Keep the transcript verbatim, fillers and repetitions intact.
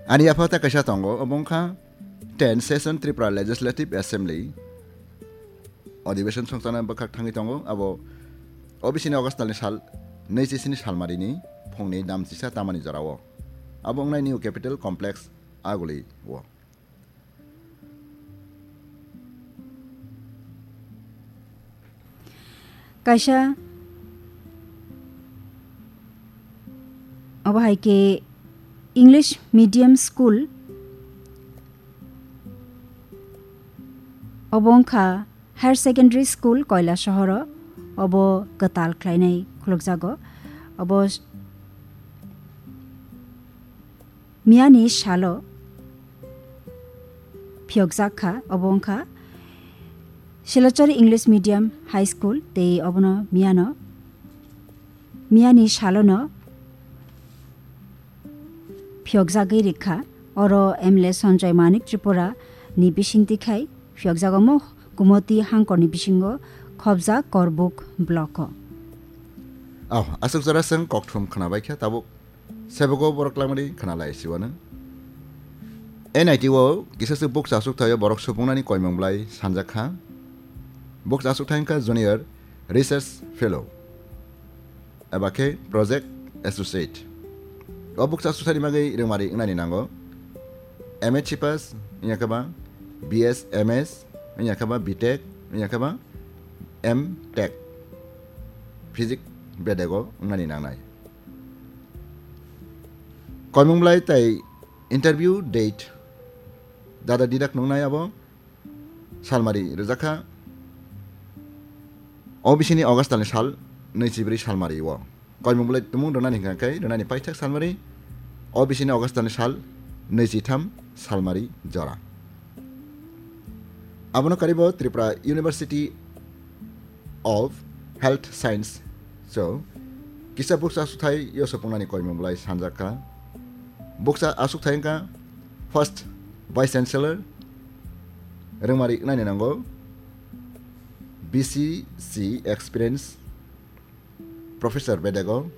Ani yapha ta kaisa tongo, obo wngkha ten session Tripura Legislative Assembly. Adhibeshon songchana bwkhak thangwi tongo, abo O B C ni August talni sal naichi sini salmarini phungni damchisa tamani jorao. Abo wngnai New Capital Complex Aguli o. Kaisa obo hai khe English medium school, obo wngkha higher secondary school Koilasahoro, obo kwtal khlainai khulukjago. Obo miyani salo phiyokjak kha, obo wngkha Silachar English Medium High School, tei obono miyano, miyani salono phiyokjagwi rikha. Oro M L A Sanjoy Manik Tripura ni bisingtwi khai phiyokjago mo Kumoti hangkorni bisingo khobjak Korbuk block o. Oh, aswk jora chwng kokthum khwnabaikha, tabuk sebogo borok lamani khwnalai siwano. N I T o kisaswk bukcha aswkthaio borok supungnani koimung bwlai sanjakha. Bukcha aswkthai wngkha Junior Research Fellow eba khe Project Associate. O bukcha aswkthani bagwi rwngmari wngnani nango. M H C pass wngya khe ba, B S, M S wngya khe ba, B Tech wngya khe ba, M Tech. Physics bedego wngnani nangnai. Koimung bwlai tai interview date dada didak nungnai abo salmari rwjakha O B C ni August talni sal naichi bwrwi salmari o. Koimung bwlai tumung rwnani hwnkha khe rwnani paithak salmari O B C ni August talni sal naichi tham salmari jora. Abono karibo Tripura University of Health Science so kisa bukcha aswkthai yo supungnani koimung bwlai sanjakha. Bukcha aswkthai wngkha First Vice Chancellor, rwngmari wngnani nango B C C experience Professor bedego,